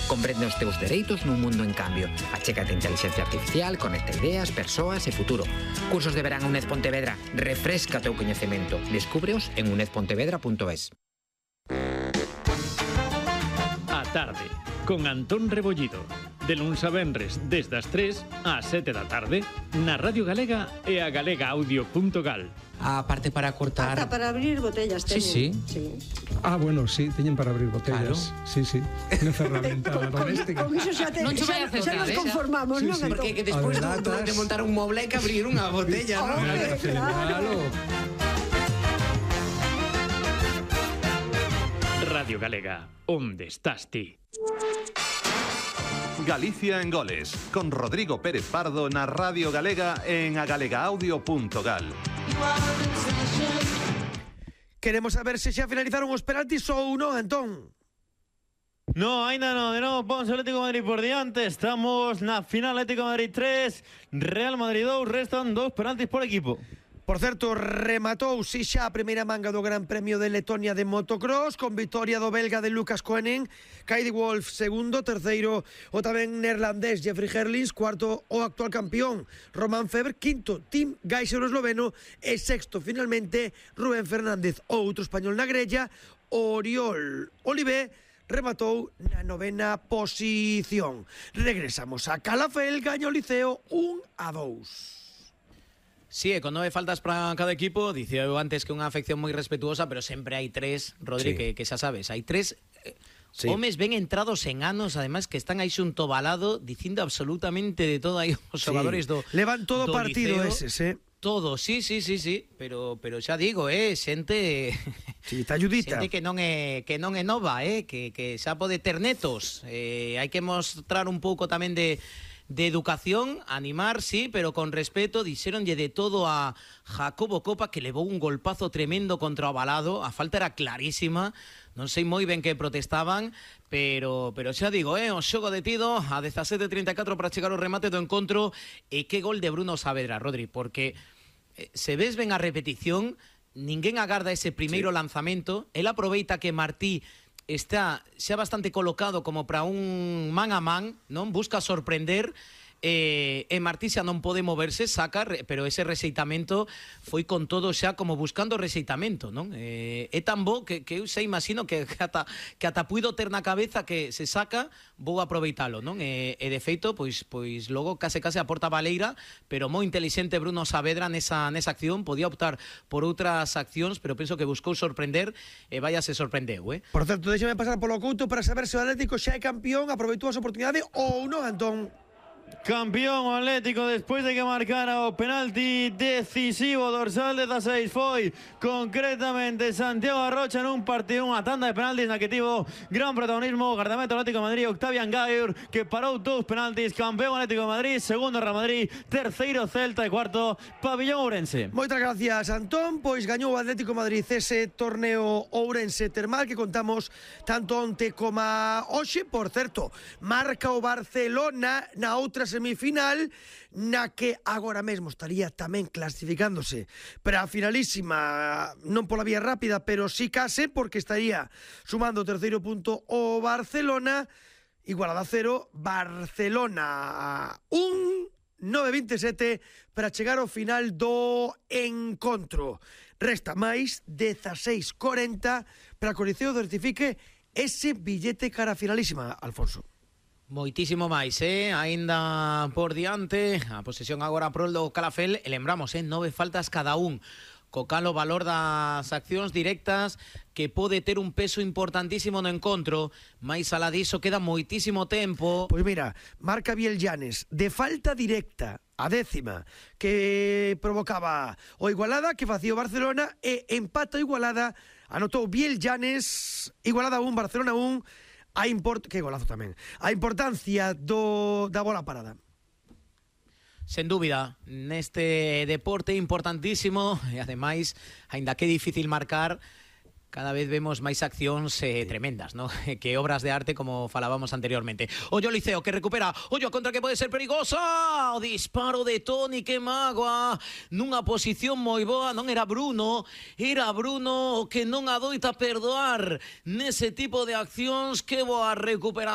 Comprende os teus dereitos nun mundo en cambio. Achégate a inteligencia artificial, conecta ideas, persoas e futuro. Cursos de verán a UNED Pontevedra. Refresca o teu coñecemento. Descúbreos en unedpontevedra.es. A tarde, con Antón Rebollido. De luns a venres, desde as 3 ás 7 da tarde, na Radio Galega e a galegaaudio.gal. A parte para cortar... Ata para abrir botellas teñen. Sí. Ah, bueno, sí, teñen para abrir botellas. Claro. Sí, unha ferramenta doméstica. Con iso xa Non che vai a acertar, nos conformamos, non? Porque que despois de montar un moble hai que abrir unha botella, non? Claro. Radio Galega, onde estás ti? Galicia en goles, con Rodrigo Pérez Pardo na Radio Galega en agalegaaudio.gal. Queremos saber se xa finalizaron os penaltis ou non, Antón. No, ainda non, de novo Ponce Atlético de Madrid por diante. Estamos na final, Atlético de Madrid 3, Real Madrid 2, restan 2 penaltis por equipo. Por certo, rematou si xa a primeira manga do Gran Premio de Letonia de motocross con victoria do belga de Lucas Koenen, Kaidi Wolf segundo, terceiro o tamén neerlandés Jeffrey Herlings, cuarto o actual campeón Roman Feber, quinto Tim Geiser o esloveno e sexto finalmente Rubén Fernández, outro español na grella. Oriol Olivé rematou na novena posición. Regresamos a Calafell, gaña o Liceo 1-2. Sí, con 9 faltas para cada equipo. Dicía eu antes que unha afección moi respetuosa, pero sempre hai 3, Rodri, sí, que xa sabes, hai 3 sí, homes ben entrados en anos, además que están aí xunto balado dicindo absolutamente de todo aí os xogadores do levan todo do partido Liceo. ese, Todo, sí, pero xa digo, xente sí, está ayudita. xente que non é nova, que xa pode ter netos. Hai que mostrar un pouco tamén de educación, animar, sí, pero con respeto. Dixéronlle de todo a Jacobo Copa, que levou un golpazo tremendo contra o Balado. A falta era clarísima. Non sei moi ben que protestaban, pero xa digo, o xogo detido a 17:34 para chegar ao remate do encontro. E que gol de Bruno Saavedra, Rodri, porque se ves ben a repetición, ninguén agarda ese primeiro lanzamento. El aproveita que Martí está xa bastante colocado como para un man a man, non? Busca sorprender, e Martí xa non pode moverse, saca, pero ese rexeitamento foi con todo xa como buscando rexeitamento, non? É tan bo que eu xa imagino que ata puido ter na cabeza que se saca, vou aproveitalo, non? E de feito, pois logo case a porta baleira, pero moi inteligente Bruno Saavedra nesa acción. Podía optar por outras accións, pero penso que buscou sorprender e vaya se sorprendeu, Por certo, déxame pasar polo Couto para saber se o Atlético xa é campeón, aproveitou a oportunidade ou non, Antón. Campeón Atlético despois de que marcara o penalti decisivo. Dorsal 16 foi concretamente Santiago Arrocha nun partido, unha tanda de penaltis na que tivo gran protagonismo o guardameta Atlético de Madrid, Octavian Gaur, que parou 2 penaltis. Campeón Atlético de Madrid, segundo Real Madrid, terceiro Celta e cuarto Pabillón Ourense. Moitas gracias, Antón. Pois gañou o Atlético de Madrid ese torneo Ourense Termal que contamos tanto onte como hoxe. Por certo, marca o Barcelona na outra semifinal, na que agora mesmo estaría tamén clasificándose para a finalísima, non pola vía rápida, pero sí case, porque estaría sumando o terceiro punto o Barcelona. Igualada 0, Barcelona 1, 9-27 para chegar ao final do encontro. Resta máis 16:40 para que o Liceo certifique ese billete cara a finalísima, Alfonso. Moitísimo máis, aínda por diante. A posesión agora prol do Calafell. E lembramos, 9 faltas cada un. Co cal o valor das accións directas que pode ter un peso importantísimo no encontro. Mais alá diso queda moitísimo tempo. Pois mira, marca Biel Llanes de falta directa, a 10ª, que provocaba o Igualada, que facía o Barcelona, e empata o Igualada, anotou Biel Llanes, Igualada 1, Barcelona 1. Que golazo tamén. A importancia da bola parada. Sen dúbida, neste deporte importantísimo, e ademais, aínda que é difícil marcar, cada vez vemos máis accións tremendas, ¿no? Que obras de arte, como falábamos anteriormente. Ollo Liceo, que recupera, ollo a contra, que pode ser perigosa. O disparo de Toni, que mágoa, nunha posición moi boa. Non era Bruno o que non adoita perdoar nese tipo de accións. Que boa recuperación